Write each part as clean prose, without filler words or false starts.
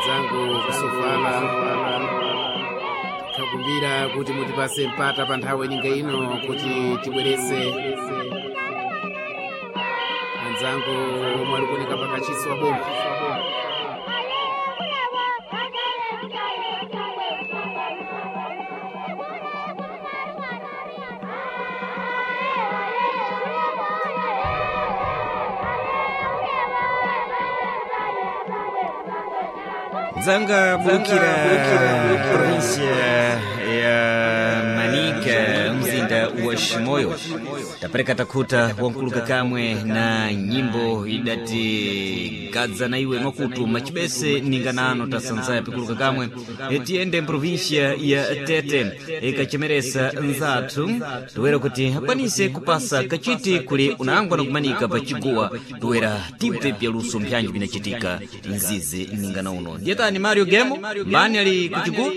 Anzangu kusofala, tikakumbira kuti mutipase mpata pa nthawi ininga ino kuti tibwerese anzangu omwe ali kuoneka pakachisi wa boma. Nzanga bulukira província ya Manica, mzinda wa Shimoyo, tapereka takhuta wankuluka kamwe na nyimbo idati gadza na iwe mwakutu machibese ninganano tasanzaya pikuluka kamwe. Tiyende mprovíncia ya Tete ikachemeresa nzathu toera kuti akwanise kupasa kachiti kuli unangwa na kumanika pachiguwa toera tibve pyaluso mpyanji pinachitika mzizi ningana uno. Ndiyetani Mario Gemo mbani ali kuchiguwa?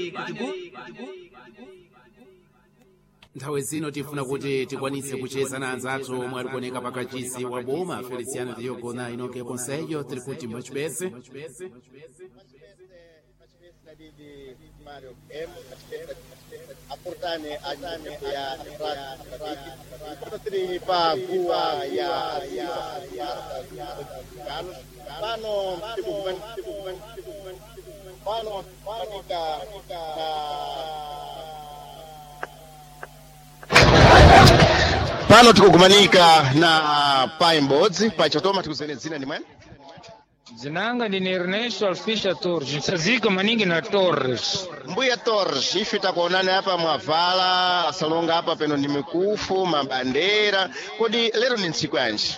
Nthawi zino tifuna kuti tikwanise kucheza na anzathu omwe ali kuoneka pakachisi wa boma Feliciano Diogo na Inoke Conselho. Tiri kuti mwachibese. Aportane atane ya tiri pa guwa ya Carlos pano pano panika na pano tikugumanika na pai m'bodzi pai chotoma tikuzene dzina ndi mwene. Dzinanga ndine Ernesto Alfisha Torres, nsazika maningi na Torres. Mbuya Torres, ife takuonani apa mwavala asalonga apa peno ndi mikufu mabandera, kodi lero ni ntsiku yanji?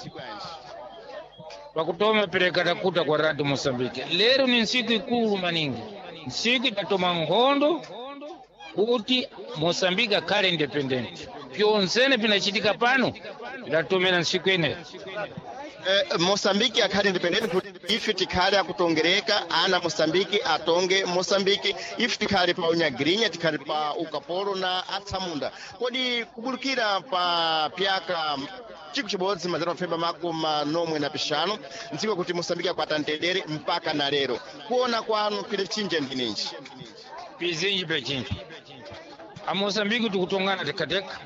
Pakutoma pereka takuta kwa Radio Mozambique. Lero ni ntsiku ikulu maningi, ntsiku idatoma nkhondo kuti Mozambique akhale independent. Pyonzene pinachitika pano pidatomera ntsiku ineyo. Mosambiki akhale independent kuti ife tikhale akutongereka ana Mosambiki atonge Mosambiki, ife tikhale pa unyagirinya, tikhale pa ukapolo na atsamunda. Kodi kubulukira pa pyaka chiku chibodzi mazana mafemba makumi manomwe na pixanu ndziko kuti Mosambiki akwata mtendere mpaka na lero, kuona kwanu pile chinja ndininji? Pizinji pechinji a Mozambique tikutongana tekateka,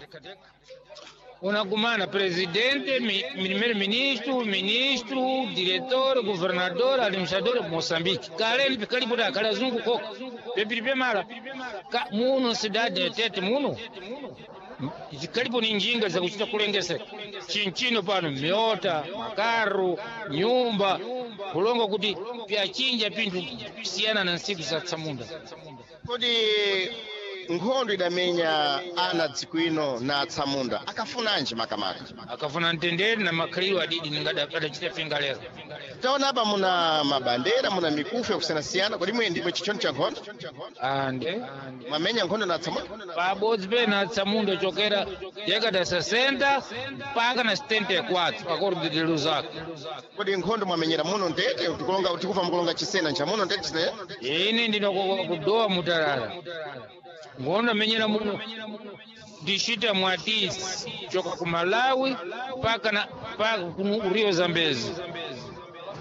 unagumana presidente, primeiro ministro, ministro, diretor, governador, administrador Moçambique. Kale pikalipo kale azungu koka pepiri pemala ka muno cidade ya Tete muno zikalipo ni njinga zakuchita kulengeseka chinchino pano miota makaru nyumba kulonga kuti pyachinja pinthu siyana na nsiku za tsamunda. Kodi nkhondo idamenya ana dziko ino na atsamunda akafunanji makamaka? Akafuna mtendere na makhalidwe adidi ningadachita finga lero. Taona apa muna mabandera, muna mikufu yakusiyanasiyana, kodi mwe ndimwe chichoni cha nkhondo? Ande. Mwamenya nkhondo na atsamunda? Pabodzi pena atsamunda chokera década 60 mpaka na 74 acordo de Lusaka. Kodi nkhondo mwamenyera muno ndete tikulonga tikufa mukulonga chisena ncha muno ndete chisena? Ine ndinokudowa mutalala, nkhondo amenyera muno ndishita mwatisi choka ku Malawi mpaka na mpaka ku Rio Zambezi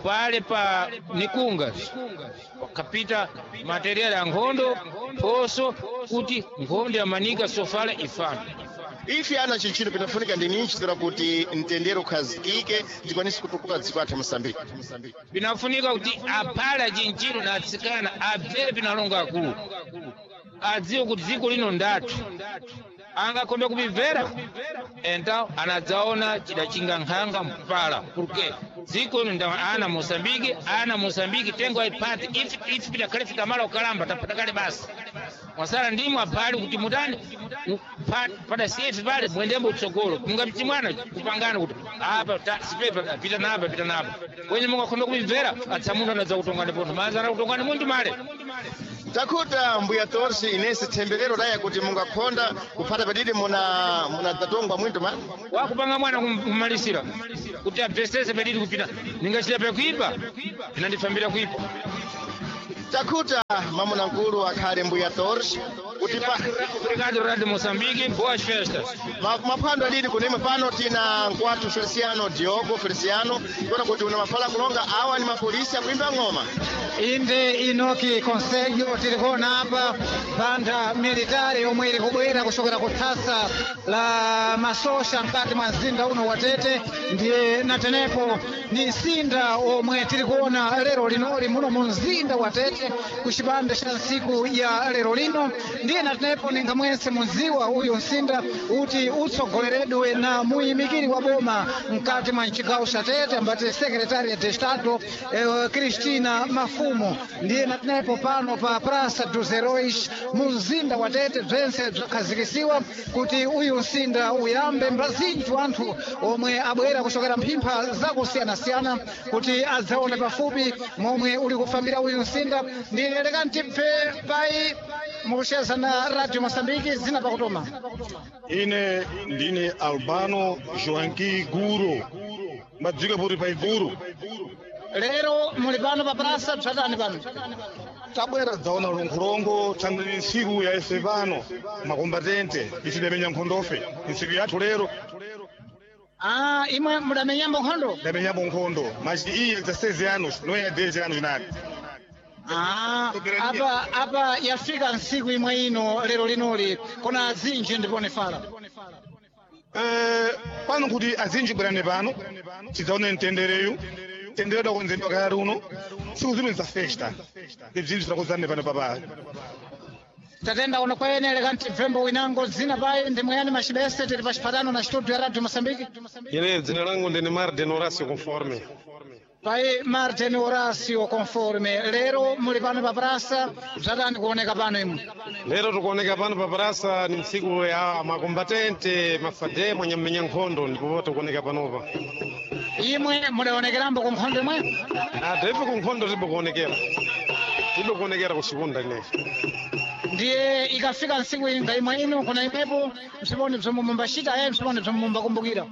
pale pa Nikunga wakapita materiali ya nkhondo poso kuti nkhondo ya Manika sofala ifana. Ife ana chinchino pinafunika ndi ninji zira kuti mtendere ukhazikike tikwanise kutukula dziko athu Mosambiki? Pinafunika kuti apale chinchino na atsikana abvere pinalonga akulu adziwe kuti dziko lino ndathu angakhombe kupimvera então anadzaona chidachinga nkhanga mpala porque dziko lino nda ana Moçambique, ana Moçambique tengo aipati ife ife pidakhale fikamala ukalamba tapatakale basi mwasala ndimwe aphali kuti mutani pada siyefe pale mwendembo utsogolo mungamti mwana kupangana kuti apa sipepa pita napa pita napa kwenye mungakhombe kupimvera atsamundu anadza kutongani pontho manza kutongani munthu male. Takuta mbuya Torsi inese temberero daya kuti mungakhonda kuphata padidi muna munadzatongwa mwintu ma wakupanga mwana kumalisira kuti abvesese padidi kupita ningachita pakuipa pinandifambira kuipa. Takuta mamuna nkulu akhale mbuya Torsi. Kuti pa Obrigado, Rádio Moçambique. Boas festas. Maphwando alili kunemwe pano tina nkwathu Feliciano Diogo Feliciano kuona kuti una mafala kulonga awa ni mapolisi akuimba ng'oma. Inde Inoki Conselho tiri kuona apa banda militari yomwe iri kubwera kuchokera ku thasa la masosha mkati mwa mzinda uno wa Tete. Ndiye natenepo ni msinda omwe tiri kuona lero linoli muno mu mzinda wa Tete ku chipande cha ntsiku ya lero lino. Ndiye natenepo ninga mwense mudziwa uyu msinda uti utsogoleredwe na muyimikiri wa boma mkati mwa mchigawo cha Tete ambati Secretaria de Estado Cristina Mafumo. Ndiye natenepo pano pa Praça dos Heróis mu mzinda wa Tete bzense bzakhazikisiwa kuti uyu msinda uyambe mbazinji anthu omwe abwera kuchokera mphimpha zakusiyanasiyana kuti adzaone pafupi momwe uli kufambira uyu msinda. Ndiye leka ntibve pai mukucheza na Radio Mosambiki zina pakutoma. Ine ndine Albano Joanqui Guro, madzika puri pa Iguru. Lero muli pano pa praça bzatani pano? Tabwera dzaona lonkhulongo thandani ntsiku ya ife pano makombatente isidamenya nkhondofe ntsiku yathu lero. Ah, imwe mudamenyambo nkhondo? Ndamenyambo nkhondo machi iyi za 6 anos não é 10 anos nada. Ah, apa yafika ntsiku imwe ino lero linoli kona azinji ndipone fala. Pano kuti azinji bwerani pano tidzaone mtendereyu mtendere dakonzedwa kale uno tsiku zino za festa ibzinthu zidakonzane pano papa. Tatenda uno kwene leka ntibvembo winango dzina pai ndi mwayani macibese tili pa chipatano na studio ya Radio Mosambiki. Ine dzina langu ndine Martin Horacio Conforme. Pai Martin Horacio Conforme, lero muli pano pa praça bzatani kuoneka pano imwe? Lero tikuoneka pano pa praça ni ntsiku ya makombatente mafade mwanyamenya nkhondo ndipo tikuoneka panopa. Imwe mudaonekerambo ku nkhondo imwe? Taipo ku nkhondo tibo kuonekera. Tibo kuonekera kuchikunda ineyi. Ndiye ikafika ntsiku inga imwe ino kuna imwepo msiponi bzomwe mumbachita aye msiponi bzomwe mumbakumbukira.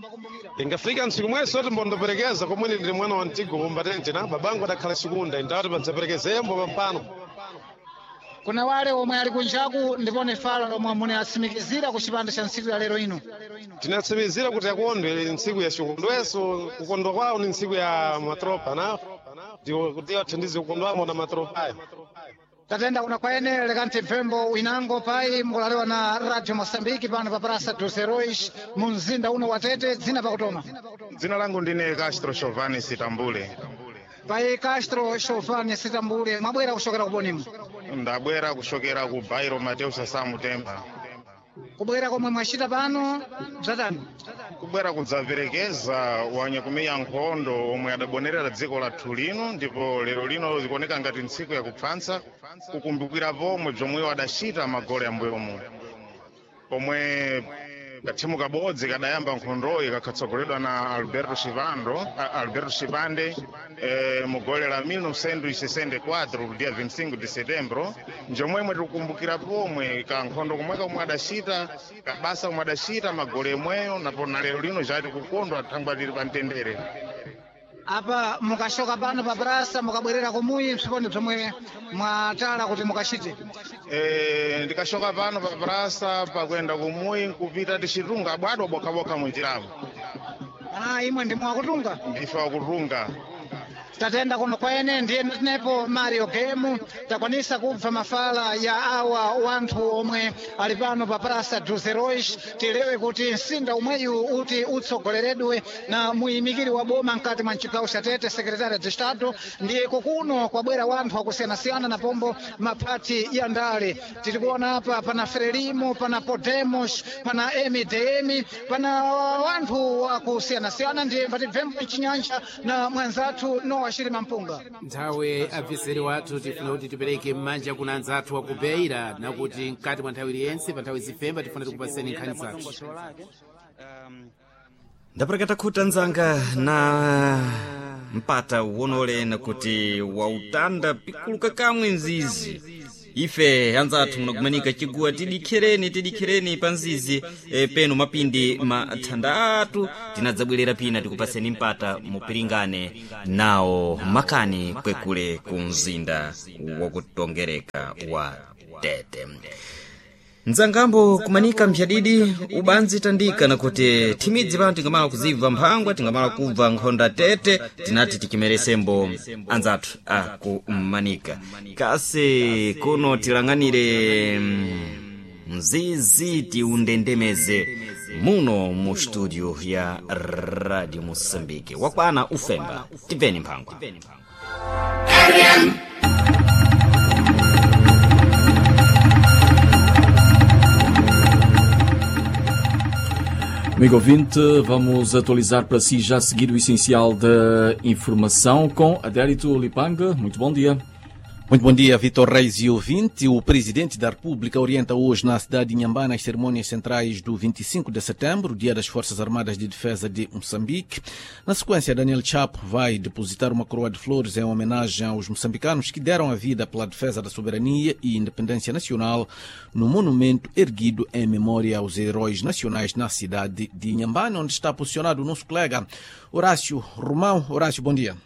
Ingafika ntsiku mweso timbondoperekeza komwene ndili mwana wa mtigo kombatente na babangu adakhala chikunda indawati padzaperekezembo pampano. Kuna wale omwe ali kunjaku ndipone fala lomwe munatsimikizira ku chipande cha ntsiku ya lero ino. Tinatsimikizira kuti akondwe ili ntsiku ya chikondweso kukondwa kwawo ni ntsiku ya matropa na ndiwo kuti athandize kukondwamo na matropayo. Tatenda kuna kwaene leka ntibvembo winango pai mukulalewa na Radio Mosambiki pano pa Praça dos Heróis mu mzinda uno wa Tete dzina pakutoma. Dzina langu ndine Castro Chovani Sitambule. Pai Castro Chovani Sitambule, mwabwera kuchokera kubonimo? Ndabwera kuchokera ku Bairo Mateus Samu Temba. Kubwera komwe mwachita pano bzatani? Kubwera kudzaperekeza wanyakumeya nkhondo omwe adabonerera dziko lathu lino ndipo lero lino zikuoneka ngati ntsiku yakupfansa kukumbukira pomwe bzomweyo adachita magole ambuyomu pomwe kathimu kabodzi kadayamba nkhondoyi kakhatsogoledwa na Alberto Chivando, Alberto Chivande mu gole la 1964 dia 25 de setembro njomwemwe tikukumbukira pomwe kankhondo komwe komwe adachita kabasa komwe adachita magole emweyo napo na lero lino chati kukondwa thangwa tili pa mtendere. Apa mukashoka pano pa praça mukabwerera kumuyi msiponi bzomwe mwatala kuti mukachite? Ndikashoka pano pa praça pakuenda kumuyi nkupita tichitunga abwadwa bokhabokha munjiramo. Ah, imwe ndimwe wakutunga? Ndife wakutunga. Tatenda kuno kwene ndiye tinepo Mario Game takwanisa kubva mafala ya awa wanthu omwe ali pano pa Praça dos Heróis. Tilewe kuti msinda umweyu uti utsogoleredwe na muyimikiri wa boma mkati mwa mchigawo cha Tete Secretaria de Estado. Ndiye kukuno kwabwera wanthu akusiyanasiyana na pombo maphati ya ndale. Tiri kuona apa pana Frelimo, pana Podemos, pana MDM, pana wanthu akusiyanasiyana. Ndiye patibvembo mchinyanja na mwanzathu Nowa Shirima Mpunga. Nthawi abviseri wathu tifuna kuti tipereke m'manja kuna anzathu wa ku Beira nakuti mkati mwa nthawi iliyonse pa nthawi zifemba tifuna tikupaseni nkhani zathu. Ndapereka takhuta nzanga na mpata wonole nakuti wautanda pikuluka kamwe nzizi. Ife anzathu munakumanika chiguwa tidikhereni tidikhereni pa nzizi penu mapindi mathandatu tinadzabwerera pina tikupaseni mpata mupiringane nawo makani kwekule ku mzinda wakutongereka wa Tete. Mdzangambo kumanika mphadidi ubanzi tandika nakuti thimidzi pano tingamala kuzibva mphangwa, tingamala kubva nkhonda tete, tinati tikimeresembo anzathu akumanika. Kasi kuno tilang'anire mzizi tiundendemeze muno mu studio ya Radio Moçambique. Wakwana ufemba, tibveni mphangwa. Amigo ouvinte, vamos atualizar para si já a seguir o essencial da informação com Adérito Lipanga. Muito bom dia. Muito bom dia, Vitor Reis e ouvinte. O Presidente da República orienta hoje na cidade de Inhambane as cerimônias centrais do 25 de setembro, Dia das Forças Armadas de Defesa de Moçambique. Na sequência, Daniel Chapo vai depositar uma coroa de flores em homenagem aos moçambicanos que deram a vida pela defesa da soberania e independência nacional no monumento erguido em memória aos heróis nacionais na cidade de Inhambane, onde está posicionado o nosso colega Horácio Romão. Horácio, bom dia.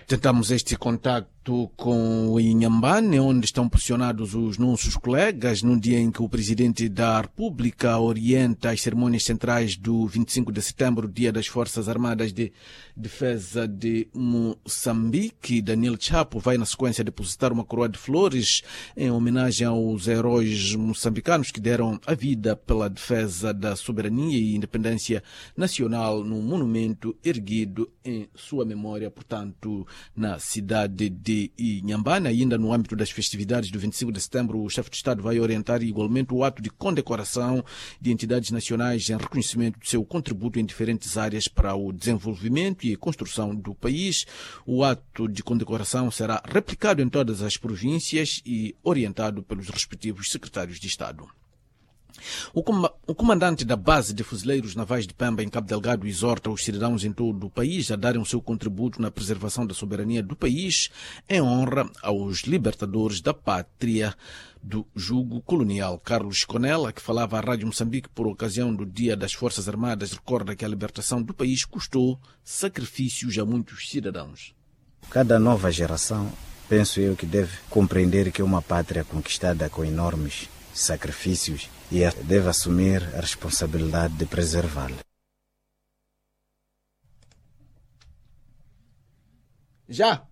Tentamos este contacto com o Inhambane, onde estão posicionados os nossos colegas, num dia em que o Presidente da República orienta as cerimônias centrais do 25 de setembro, Dia das Forças Armadas de Defesa de Moçambique. Daniel Chapo vai, na sequência, depositar uma coroa de flores em homenagem aos heróis moçambicanos que deram a vida pela defesa da soberania e independência nacional no monumento erguido em sua memória, portanto, na cidade de Inhambane. Ainda no âmbito das festividades do 25 de setembro, o chefe de Estado vai orientar igualmente o ato de condecoração de entidades nacionais em reconhecimento do seu contributo em diferentes áreas para o desenvolvimento e construção do país. O ato de condecoração será replicado em todas as províncias e orientado pelos respectivos secretários de Estado. O comandante da base de fuzileiros navais de Pemba, em Cabo Delgado, exorta os cidadãos em todo o país a darem o seu contributo na preservação da soberania do país em honra aos libertadores da pátria do jugo colonial. Carlos Conella, que falava à Rádio Moçambique por ocasião do Dia das Forças Armadas, recorda que a libertação do país custou sacrifícios a muitos cidadãos. Cada nova geração, penso eu, que deve compreender que é uma pátria conquistada com enormes sacrifícios e deve assumir a responsabilidade de preservá-la. Já!